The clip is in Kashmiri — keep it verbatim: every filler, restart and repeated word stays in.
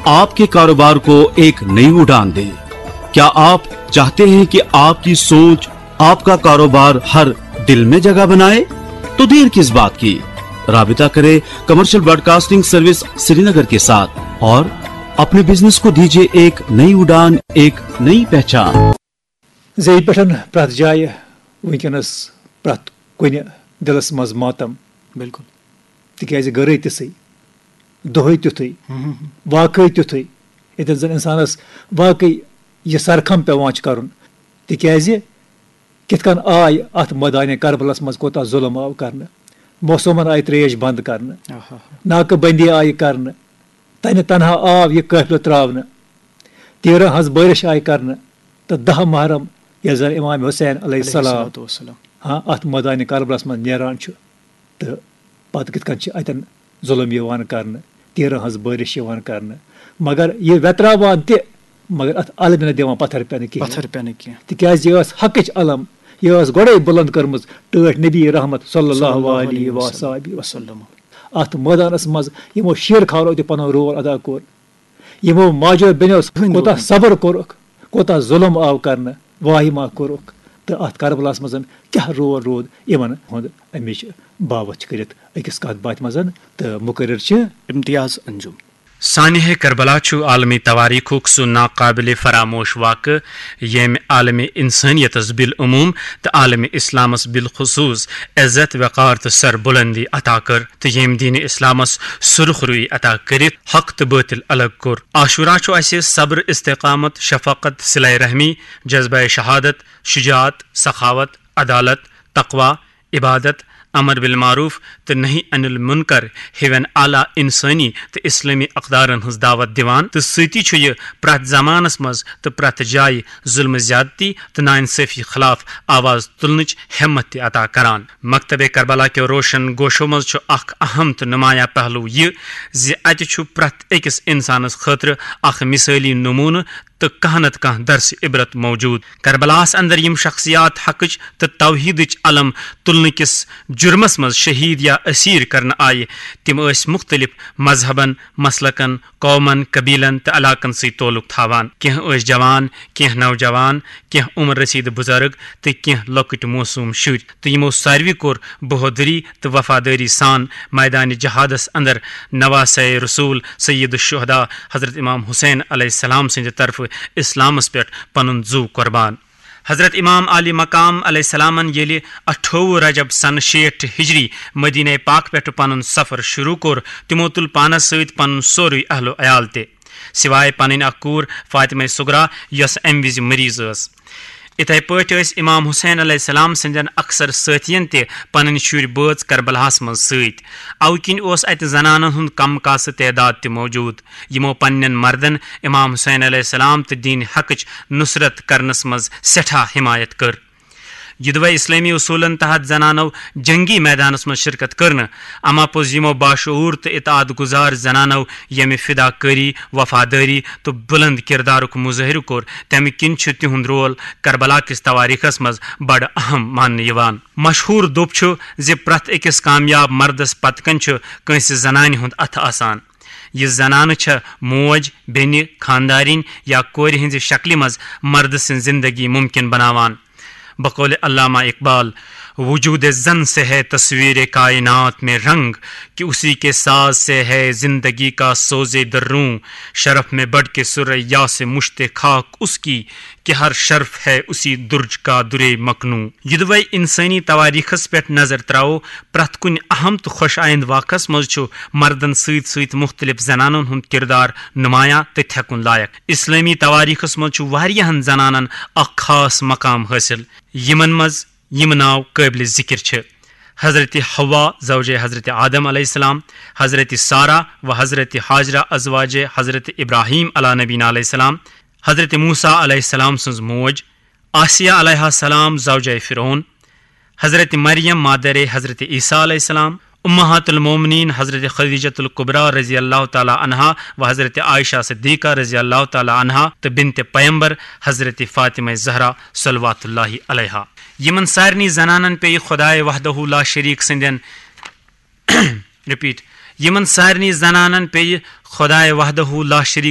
आपके कारोबार को एक नई उड़ान दे। क्या आप चाहते हैं कि आपकी सोच आपका कारोबार हर दिल में जगह बनाए? तो देर किस बात की? राबिता करें कमर्शियल ब्रॉडकास्टिंग सर्विस श्रीनगर के साथ और अपने बिजनेस को दीजिए एक नई उड़ान, एक नई पहचान। زِ ییٚتہِ پٮ۪ٹھ پرٛٮ۪تھ جایہِ وٕنکیٚنَس پرٛٮ۪تھ کُنہِ دِلَس منٛز ماتم، بِلکُل۔ تِکیٛازِ گٔرٕے تِژھٕے، دۄہَے تیُتھُے، ہُم، ہُم، ہُم۔ واقعٕے تیُتھُے، ییٚتٮ۪ن زَن اِنسانَس واقعٕے یہِ سرخم پٮ۪وان چھُ کَرُن۔ تِکیٛازِ کِتھ کٔنۍ آے اَتھ مٲدانِ کربلَس منٛز کوٗتاہ ظُلم آو کَرنہٕ، موسوٗمَن آیہِ ترٛیش بنٛد کَرنہٕ، آہا۔ ناکہٕ بندی آیہِ کَرنہٕ، تَنہِ تنہا آو یہِ قٲفلہٕ ترٛاونہٕ، تیٖرَن ہٕنٛز بٲرِش آیہِ کَرنہٕ، تہٕ دَہ محرم، ییٚلہِ زَن امام حسین علیہ السلام الصلوۃ والسلام۔ ہاں، اَتھ مٲدانِ کربلَس منٛز نیران چھُ، تہٕ پَتہٕ کِتھ کٔنۍ چھِ اَتٮ۪ن ظُلم یِوان کَرنہٕ، تیٖرَن ہٕنٛز بٲرِش یِوان کَرنہٕ، مگر یہِ ویتراوان تہِ، مگر اَتھ علمہِ نہٕ دِوان پَتھر پٮ۪نہٕ کِہیٖنۍ۔ پَتھر پٮ۪نہٕ کینٛہہ۔ تِکیٛازِ یہِ ٲس حقٕچ علم، یہِ ٲس گۄڈَے بُلنٛد کٔرمٕژ ٹٲٹھۍ نبی رحمت صلی اللہ علیہ وآلہ وسلم۔ وسلم۔ اَتھ مٲدانَس منٛز یِمو شیر خانو تہِ پَنُن رول ادا کوٚر، یِمو ماجو بیٚنیو ہٕنٛدۍ کوٗتاہ رول۔ صبر کوٚرُکھ، کوٗتاہ ظُلم آو کَرنہٕ، واہِما کوٚرُکھ، تہٕ اَتھ کربلاہَس منٛز کیٛاہ رول روٗد یِمَن ہُنٛد، اَمِچ باوَتھ چھِ کٔرِتھ أکِس کَتھ باتھِ منٛز تہٕ مُقرر چھِ۔ امتیاز انجم۔ سانحہ کربلا چھُ عالمی تواریخُک سُہ ناقابل فراموش واقعہٕ، ییٚمۍ عالمی انسانیتس بالعموم تہٕ عالمی اسلامس بالخصوص عزت، وقار تہٕ سربلندی عطا کٔر، تہٕ ییٚمۍ دین اسلامس سرخ روی عطا کٔرِتھ حق تہٕ باطل الگ کوٚر۔ عاشورہ چھُ اسہِ صبر، استقامت، شفقت، صلہ رحمی، جذبہ شہادت، شجاعت، سخاوت، عدالت، تقوی، عبادت، امر بالمعروف تہٕ نہی عن المنکر ہِوٮ۪ن اعلیٰ انسٲنی تہٕ اسلٲمی اقدارن ہٕنٛز دعوت دِوان، تہٕ سۭتی چھُ یہِ پرٛٮ۪تھ زمانس منٛز تہٕ پرٛٮ۪تھ جایہِ ظلم زیادتی تہٕ ناانصٲفی خلاف آواز تُلنٕچ ہمت تہِ عطا کران۔ مکتبِ کربلا کٮ۪و روشن گوشو منٛز چھُ اکھ اہم تہٕ نمایاں پہلو یہِ زِ اتہِ چھُ پرٛٮ۪تھ أکِس انسانس خٲطرٕ اکھ مثٲلی نموٗنہٕ تہٕ کانٛہہ نتہٕ کانٛہہ درس عبرت موجود۔ کربلاہس اندر یِم شخصیات حقٕچ تہٕ توحیدٕچ علم تُلنہٕ کِس جُرمس منٛز شہید یا اسیر کرنہٕ آیہِ، تِم ٲسۍ مُختٔلِف مذہبن، مسلکن، قومن، قبیلن تہٕ علاقن سۭتۍ تعلق تھاوان۔ کینٛہہ ٲسۍ جوان، کینٛہہ نوجوان، کینٛہہ عمر رسیدٕ بُزرگ تہٕ کینٛہہ لۄکٕٹۍ معصوم شُرۍ۔ تہٕ یِمو ساروٕے کوٚر بہادری تہٕ وفادٲری سان میدانِ جہادس اندر نواسہ رسول سید الشہداء حضرت امام حسین علیہ السلام سٕنٛدِ طرفہٕ اسلامس پٮ۪ٹھ پنُن زُو قربان۔ حضرت امام عالی مقام علیہ السلامن ییٚلہِ اٹھووُہ رجب سنہٕ شیٹھ ہجری مدینہ پاک پٮ۪ٹھٕ پنُن سفر شروع کوٚر، تِمو تُل پانس سۭتۍ پنُن سورُے اہل و عیال تہِ، سوائے پنٕنۍ اکھ کوٗر فاطمہ صغرا، یۄس امہِ وِزِ مریض ٲس۔ اِتھے پٲٹھۍ ٲسۍ امام حسین علیہ السلام سٕنٛدٮ۪ن اکثر سٲتھین تہِ پنٕنۍ شُرۍ بٲژ کربلاہس منٛز سۭتۍ۔ اوٕ کِنۍ اوس اتہِ زنانن ہُنٛد کم کاسہٕ تعداد تہِ موجود، یِمو پننٮ۪ن مردن امام حسین علیہ السلام تہٕ دین حقٕچ نصرت کرنس منٛز سٮ۪ٹھاہ حمایت کٔر۔ یِدوے اسلٲمی اصوٗلن تحت زنانو جنگی میدانس منٛز شرکت کٔر نہٕ، اما پوٚز یِمو باشعوٗر تہٕ اطاعت گُزار زنانو ییٚمہِ فدا کٲری، وفادٲری تہٕ بُلنٛد کِردارُک مظٲہرٕ کوٚر، تَمہِ کِنۍ چھُ تِہُنٛد رول کربلا کِس توٲریٖخس منٛز بڑٕ اہم ماننہٕ یِوان۔ مشہوٗر دوٚپ چھُ زِ پرٛٮ۪تھ أکِس کامیاب مردس پتہٕ کنۍ چھُ کٲنٛسہِ زنانہِ ہُنٛد اَتھٕ آسان۔ یہِ زنانہٕ چھےٚ موج، بیٚنہِ، خانٛدارِنۍ یا کورِ ہٕنٛزِ شکلہِ منٛز مردٕ سٕنٛز زِندگی مُمکِن بناوان۔ بقول علامہ اقبال، وجود زن سے ہے تصویر کائنات میں رنگ، کہ اسی کے ساز سے ہے زندگی کا سوز دروں۔ شرف میں بڑھ کے ثریا سے مشت خاک اس کی، کہ ہر شرف ہے اسی درج کا درِ مکنوں۔ یِدوے انسٲنی توٲریٖخس پٮ۪ٹھ نظر تراوو، پرٛٮ۪تھ کُنہِ اہم تہٕ خۄش آیند واقعس منٛز چھُ مردن سۭتۍ سۭتۍ مُختٔلِف زنانن ہُنٛد کِردار نمایاں تہٕ تھٮ۪کُن لایق۔ اسلٲمی توٲریٖخس منٛز چھُ واریاہن زنانن اکھ خاص مقام حٲصِل، یِمن منٛز یِم ناو قٲبلِ ذِکِر چھِ: حضرت حوا زوجہ حضرت آدم علیہ السلام، حضرت سارہ و حضرت ہاجرہ ازواجِ حضرت ابراہیم علیٰ نبینا علیہ السلام، حضرت موسیٰ علیہ السلام سٕنٛز موج، آسیہ علیہ السلام زوجہ فرعون، حضرت مریم مادرِ حضرت عیسیٰ علیہ السلام، امہات المومنین حضرت خدیجۃ الکبریٰ رضی اللہ تعالیٰ عنہا و حضرت عائشہ صدیقہ رضی اللہ تعالیٰ عنہا تہٕ بنتِ پیمبر حضرت فاطمہ زہرا صلوات اللہ علیہا۔ یِمن سارنٕے زنانن پیٚیہِ خدایہِ وحدہ لا شریک سٕنٛدٮ۪ن رپیٹ، یِمن سارنٕے زنانن پیٚیہِ خدایہِ وحدہ لا شریک